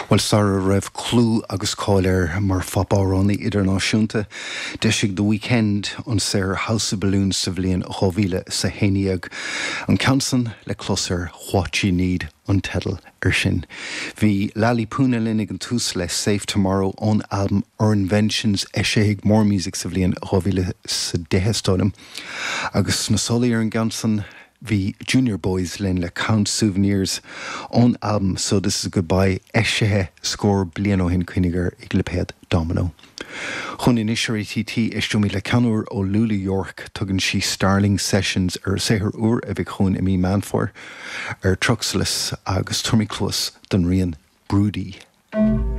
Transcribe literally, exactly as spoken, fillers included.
Well sara raibh clú agus cáil air mar phopamhránaí idirnáisiúnta, d'eisigh The Weeknd an saothar House of Balloons sa bhliain dhá mhíle is a haon déag. An ceann san le clos ar What You Need an teideal ar sin. Bhí Lali Puna linn ag an tús le Safe Tomorrow ón albam Our Inventions eisithe ag Morr Music sa bhliain dhá mhíle is a deich is dóigh liom. Agus sna solaí ar an gceann san bhí Junior Boys linn le Count Souvenirs ón albam So This Is Goodbye eisithe scór bliain ó shin cuimhnigh air ag lipéad Domino. Chun anois ar ATT éisteoimid le ceann úr ó Lulu York tugann sí Starling Sessions ar a saothar úr a bheidh chugainn i mí Meán Fómhair ar Truxalis agus tabharfaimid cluas don rian Broody.